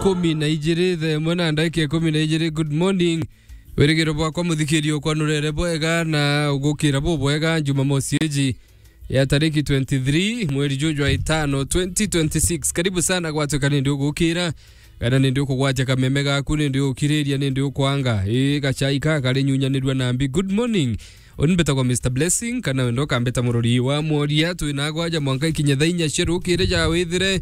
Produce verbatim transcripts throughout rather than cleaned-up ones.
ikumi na ijiri, thaa imwe na ndagika ikumi na ijiri. Good morning. Wirigiro bwakwa, muthikiri, ukwanurere bwega na ugukira bubwega Jumamosi iji ya tariki twenty-three, mweri juju jwa itano, twenty twenty-six. Karibu sana gwatuika nindi ugukira, kana nindi ukugwatia kameme gaku, nindi ukiriria, nindi ukwanga. Ii, gachai ka kari nyunyanirua na mbi. Good morning. Uni mbitagwa Mister Blessing, kana wenda ukambita murori wa mworia. Twina gwaja mwanka ikinye thaa inya cia rukiri ja withire.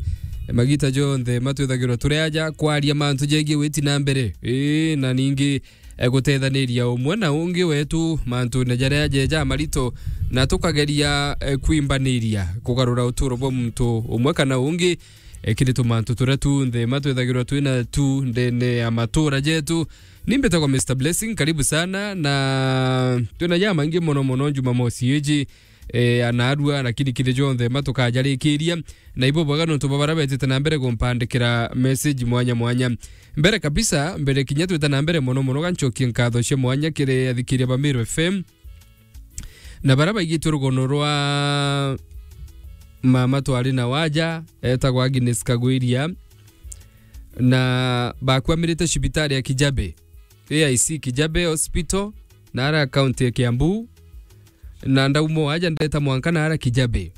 Magita jonthe matwithagirwa turi aja kwaria mantu jegie witi na mbere. Ii, na ningi, eh, gutethaniria umwe na ungi wetu mantune jaria jeja marito, na tukageria, eh, kwimbaniria kugarura uturo bwa muntu umwe kana ungi, eh, kiri tumantu turia tunthe matwithagirwa twina tu ndene ya matura jetu. Ni mbitagwa Mister Blessing, karibu sana, na twina jamaingi mono mono Jumamosi iji, eh, anarua, lakini kiri jonthe matukajarikiria. Na ibo bwega nontu bwa baria betite na mbere kumpandikira message mwanya mwanya. Mbere kabisa, mbere kinya twita na mbere mono mono, ganchokie nkatho cia mwanya kiri athikiria ba Meru F M. Na baria baigitwe rugono rwa mama twari na waja, etagwa Agnes Kagwiria, na bakwamirite cibitari ya Kijabe, A I C Kijabe Hospital, na ara county ya Kiambu, na ndauma aja ndeta mwanka na ara Kijabe.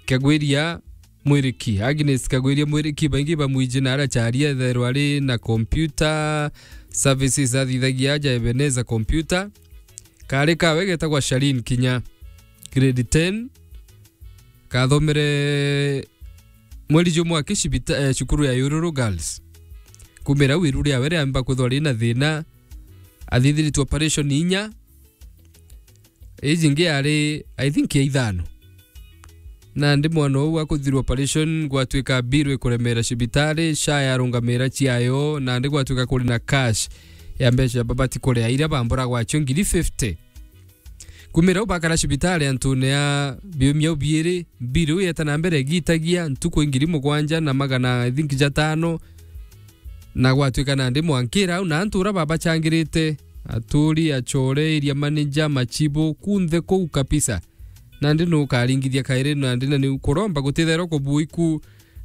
Kagwiria Mwiriki, Agnes Kagwiria Mwiriki, baingi bamwiji na aracharia ethairwa ari na computer services athithagia aja Ebenezer Computer. Kari kawe getagwa Shalin Kinya, grade ten, kathomere mweri jumwe aki cibita-, eh, cukuru ya Yururu Girls. Kumira wiru riawe riamba kwithwa rina thina, athithiritwe operation inya, iji ingi yari, I think, ya ithano. Nandi mwana uu akuthirwa operation, gwatuika bill ikuremera cibitari, SHA yarungamira ciayo, nandi gwatuika kuri na cash ya mbeca babati kuria iria bambura gwacio ngiri fifty. Kumira u bakara cibitari antune ya biumia u biiri, bill u yeta na mbere igitagia ntuku ngiri mugwanja na magana, I think, jatano, na gwatuika nandi mwankira au na antu ura babachangirite, aturi, achore, area manager, machibu, kunthe kuu kabisa. Nandi nukaringithia kairi nandi na ni kuromba gutitherwa kubuiku,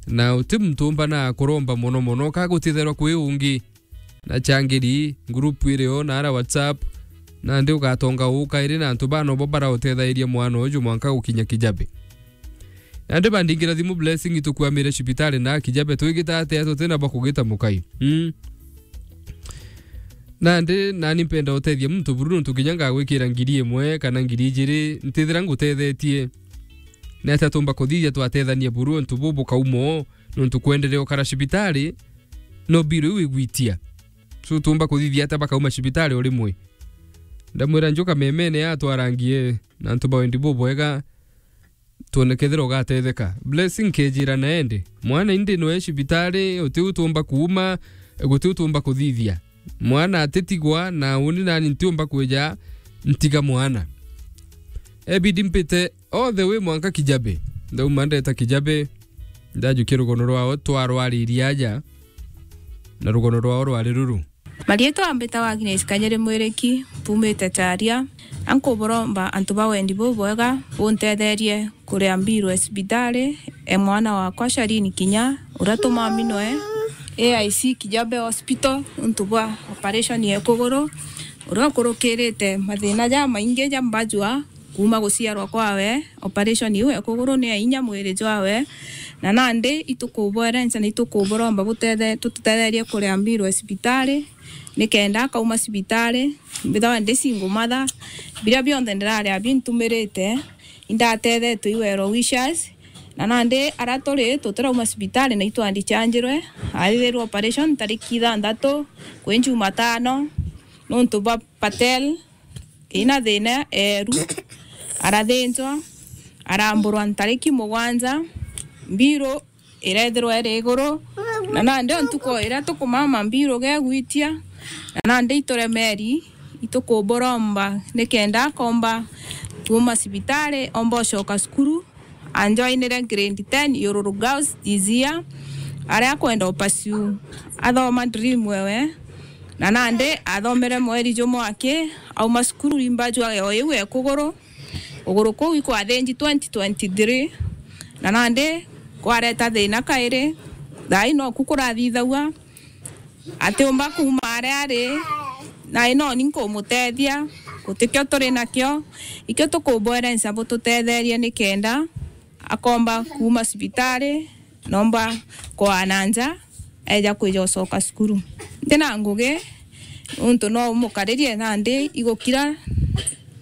na uti muntu umbana kuromba mono mono ka gutitherwa kwi ungi. Na changiri, group iri o na ara WhatsApp, nandi ugatonga uu kairi na antu bana bo barautethairia mwana uju mwanka gukinya Kijabe. Nandi bandingira thimu Blessing, itukwamire cibitari na Kijabe, twigita atia tutina bwa kugita mukai? Mm. Nandi nani mpenda utethia muntu buru nontu kinya ngagwikira ngiri imwe kana ngiri ijiri, ntithira ngutethetie. Ni atia tumba kuthithia twatethania buru untu bu bukaumo, nontu kwenderea ukara cibitari, no bill iu igwitia. So tumba kuthithia atia bakauma cibitari o rimwe? Ndamwira njuka memene ya twarangie na antu ba wendi bubwega, twone kethira ugatetheka. Blessing kejira na ende, mwana indi nwe cibitari, uti u tumba kuuma, guti u tumba kuthithia. Mwana atitigwa, na uni nani ntiumba kwija ntiga mwana. Ebidi mpite all the way mwanka Kijabe. Ndauma ndeta Kijabe, ndajukia rugono rwao twarwaririe aja, na rugono rwao rwari ruru. Marietwa mbitagwa Agnes Kanyere Mwiriki, mpumite Charia. Ankuburomba antu ba wendi bubwega buntetherie kuria mbiru ya cibitari e mwana wakwa Sharini Kinya, uria tumaminwe A I C Kijabe Hospital untu bwa operation ya kuguru, uria ukurukirite mathina jamaingi ja mbajua kuma guciarwa kwawe. Operation iu ya kuguru ni ya inya mwiri jwawe, na nandi itukubwerenca na itukuburomba butethe-, tututetherie kuria mbiru ya cibitari, nikenda akauma cibitari mbithagwa ndi single mother. Biria bionthe ndiraria bintumirite, indatethetwe i well wishers, na nandi aria turi tutirauma cibitari na itwandichanjirwe, athithirwe operation tariki ithanthatu kwi Jumatano, nontu bwa Patel ina thina eru, arathinjwa, aramburwa ntariki mugwanja, mbiru irethirwa iri iguru, na nandi o ntuku iria tukumama mbiru gegwitia, na nandi ituremeri, itukuburomba nikenda akomba kuuma cibitari, omba ucoka cukuru. Anjoinire grade ten Yururu Girls this year, aria akwenda upursue athoma dream ewe, na nandi athomere mweri jumwe aki auma cukuru, imba jwa yo iu e kuguru. Kuguru kuu ikwathinji twenty twenty-three, na nandi kwareta thina kairi, Thaa ino ku kurathithagua, atiumba kuuma aria ari, na ino ni nkumutethia, gutikio turi nakio, ikio tukubwerenca bututetherie nikenda akomba kuuma cibitari, nomba kwaa na nja, eja kwija ucoka cukuru. Ntina ngugi, nuntu no umukaririe nandi igukira,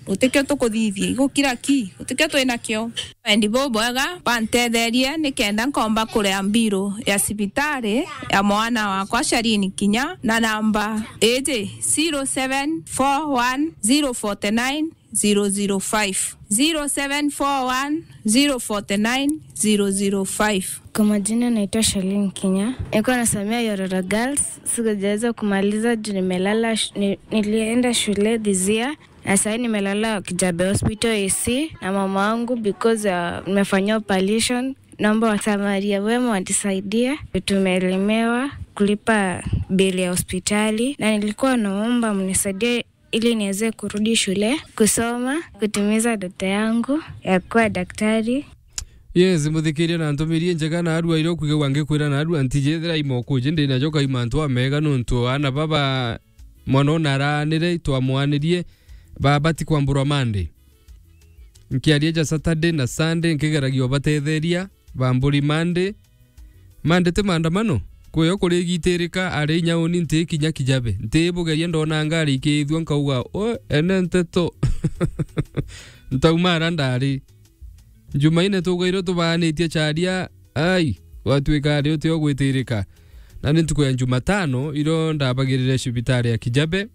gutikio tukuthithia, igukira ki, gutikio twi nakio. Wendi bubwega, bantetherie nikenda nkomba kuria mbiru ya cibitari ya mwana wakwa Sharini Kinya, na namba iji, zero seven four one zero forty nine zero zero five, zero seven four one zero forty nine zero zero five. Kwa majina naitwa Shalin Kinya. Nilikuwa nasomea Yororo Girls. Sikujaweza kumaliza juu nimelala sh-, ni-, nilienda shule this year. Na sasa nimelala Kijabe Hospital A C na mama wangu because, uh, nimefanyia operation. Naomba wasamaria wema wanisaidie. Tumelemewa kulipa bili ya hospitali. Na nilikuwa naomba mnisaidie ili niweze kurudi shule, kusoma, kutimiza ndoto yangu ya kuwa daktari. Yes, muthikiria na ntumirie njega na arua iria ukwiga wangikwira na arua ntijethira imokuji ndi najo kai mantu amega nuntu ana baba mwana ona aranire twamwanirie baba ti kwamburwa Monday. Nkiaria ja Saturday na Sunday nkigeragia ubatetheria bamburi Monday. Mande ti maandamano? Kwio kurigitirika ari inya uni nti kinya Kijabe. Nti bugeria ndona ngari ikithua nkauga, "O, ene nteto." Ntauma ara ndari. Jumaine tugairwo tubaanitie charia, ai, gwatuika ari utio gwitirika. Na ni ntuku ya Jumatano, iro ndabagirire cibitari ya Kijabe.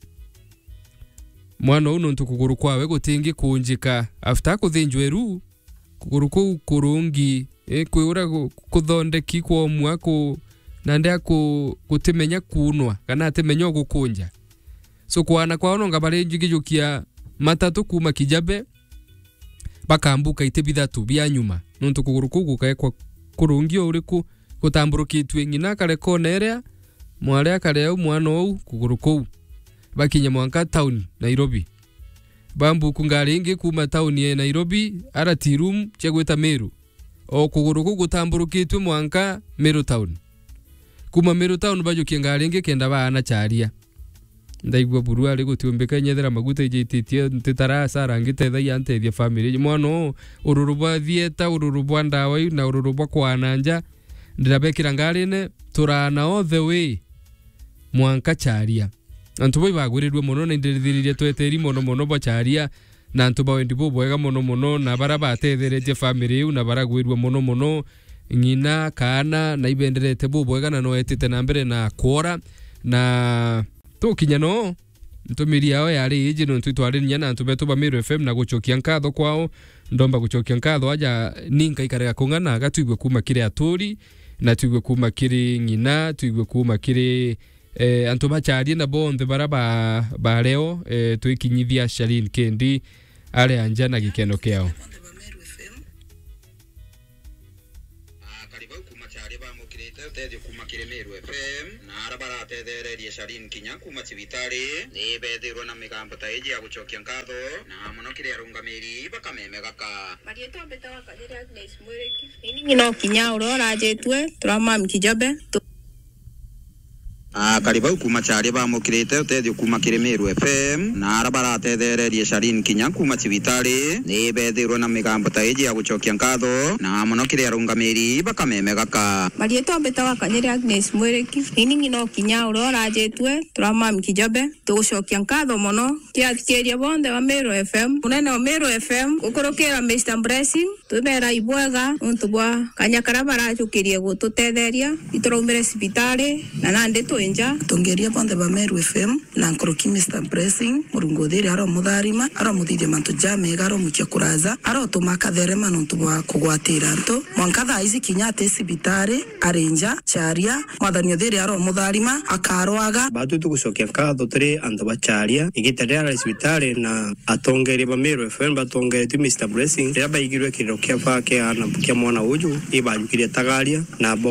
Mwana uu nuntu kuguru kwawe gutingi kunjika. After kuthinjwa iru, kuguru kuu kurungi, eh, kwiura gu-, kuthondeki kwomua ku-, nandi aku-, gutimenya kuunwa, kana atimenya ugukunja. So, kwana kwao nonga bari njigijukia matatu kuuma Kijabe, bakambuka iti bithatu bia nyuma. Nuntu kuguru kuu gukaekwa kurungi o uriku, gutamburukitue ng'ina akare kona iria, mwari akare au, mwana ou, kuguru kuu. Bakinye mwanka town, Nairobi. Bambuku ngari ingi kuuma town ya Nairobi, R T room cia gwita Meru. O kuguru kuu gutamburukitue mwanka Meru town. Kuuma Meru town bajukie ngari ingi kenda baana charia. Ndaigua buru ari gutiumbika inyethera maguta ijititie ntitara asara ngitethagia ntethia family. Mwana uu, ururu bwa thieta, ururu bwa ndawa iu na ururu bwa kwana nja, ndirabekira ngarine, turaana all the way mwanka charia. Antu bau ibagwirirue mono na indirithiririe tweteri mono mono bwa charia, na antu ba wendi bubwega mono mono, na bara batetheretie family iu, na baragwirua mono mono, ng'ina, kaana, na ibenderete bubwega, na noetite na mbere na kwora, na tukinya no, ntumiri yao yari iji, nontu itwaririnya na antu betu ba Meru F M na gucokia nkatho kwao, ndomba gucokia nkatho aja ni nkaikarega kung'ana, aga twigue kuuma kiri aturi, na twigue kuuma kiri ng'ina, twigue kuuma kiri eh, antu bacharie na bonthe bara ba, ba reo, eh, twikinyithia Shalin Kendi aria nja na gikeno kiao. Akari bau kuuma charia bamukirite utethio kuuma kiri Meru F M, na ara baratethererie Shalin Kinya kuuma cibitari, ni bethirwe na migambo ta iji ya gucokia nkatho, na mono kiri arungamiri bakameme gaka. Marietwa mbitawa Kanyiri Agnes Mwiriki. Ini ng'ina o kinya uria urajitue, turamami Kijabe. Tu- Akari bau kuuma charia bamukirite utethio kuuma kiri Meru F M, na ara baratethererie Shalin Kinya kuuma cibitari, ni bethirwe na migambo ta iji ya gucokia nkatho, na mono kiri arungamiri bakameme gaka. Marietwa mbitawa Kanyiri Agnes Mwiriki. Ini ng'ina o kinya uria urajitue, turamami Kijabe. Tugucokia nkatho mono kiri athikiria bonthe ba Meru F M, munene wa Meru F M, gukurukira Mister Blessing, twibera ibwega nontu bwa kanya karia barajukirie gututetheria, ituraumire cibitari na nandi twi nja. Atongeria bonthe ba Meru F M na nkuruki Mister Blessing, Murungu uthiri aromutharima, aromuthithia mantu jamega, aromukia kuraja, arotuma akatherema nontu bwa kugwatira antu. Mwanka thaa ici kinya ati cibitari, ari nja, charia, Mwathani uthiri aromutharima, akarwaga. Batwi tugucokia nkatho turi antu ba charia. Igita riria arari cibitari na atongeria ba Meru F M batongeretue Mister Blessing, riria baigirwe kiriro kia ba kia ana, kia mwana uju, ibajukirie tagaria na bo